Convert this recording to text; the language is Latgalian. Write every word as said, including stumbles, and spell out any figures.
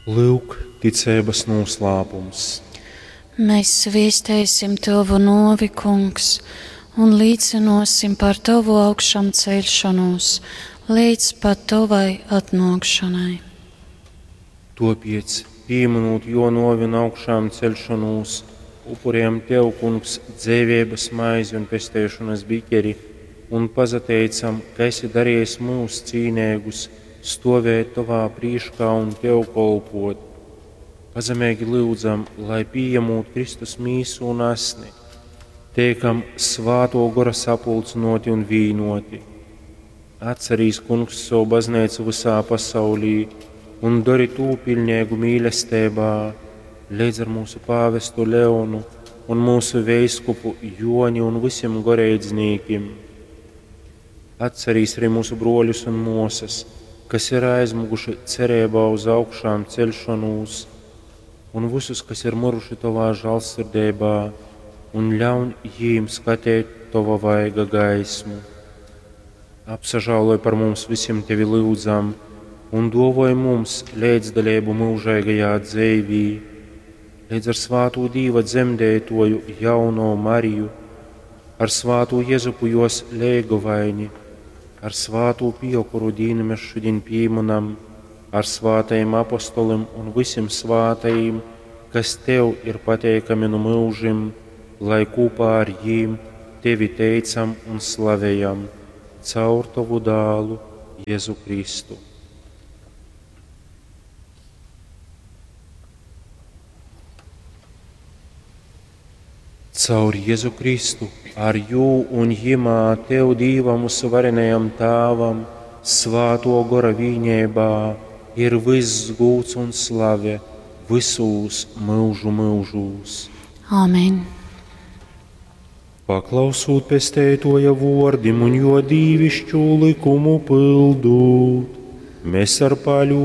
Lyuk, ticeibas noslēpums. Mēs viestēsim Tavu novi, Kungs, un līdzinosim par Tavu augšām celšanos līdz pat Tavai atnākšanai. Topiec, pieminot jo novi un augšām celšanos, upurējam Tev, Kungs, dzēvības maizi un pestēšanas biķeri, un pazateicam, ka esi darījis mūs cīnēgus, stovēt Tavā prīškā un Tev kolpot. Pazemīgi lūdzam, lai pieņemot Kristus mīsu un asni, teikam svāto gora sapulcinoti un vīnoti. Atcerīs, Kungs, savu baznīcu visā pasaulī un dari tū pilnīgu mīlestībā, līdz ar mūsu pāvestu Leonu un mūsu veiskupu Joni un visiem goreidznīkim. Atcerīs arī mūsu broļus un mosas, kas ir aizmuguši cerībā uz augšām celšanos, un visus, kas ir miruši Tavā žālsirdībā, un ļaun jīm skatīt Tava vaiga gaismu. Apsažāloj par mums visiem Tevi lūdzam, un dovoj mums līdzdalību mūžīgajā dzīvī, līdz ar svāto Dīva dzemdētoju jauno Mariju, ar svāto Jezupu jos leigovaini, ar svāto Piju, kuru dīnu mēs šodien pieminam, ar svātajiem apostolim un visiem svātajiem, kas Tev ir pateikami no mūžim, lai kopā ar jīm Tevi teicam un slavējam caur Tavu dālu Jēzu Kristu. Caur Jēzu Kristu, ar jū un jimā Tev Dīvam uzvarenajam Tāvam, svāto gora vīņībā, ir viss gūts un slave visūs mūžu mūžūs. Āmen! Paklausūt pestētoja vordim un jo dīvišķu likumu pildūt, mēs ar paļu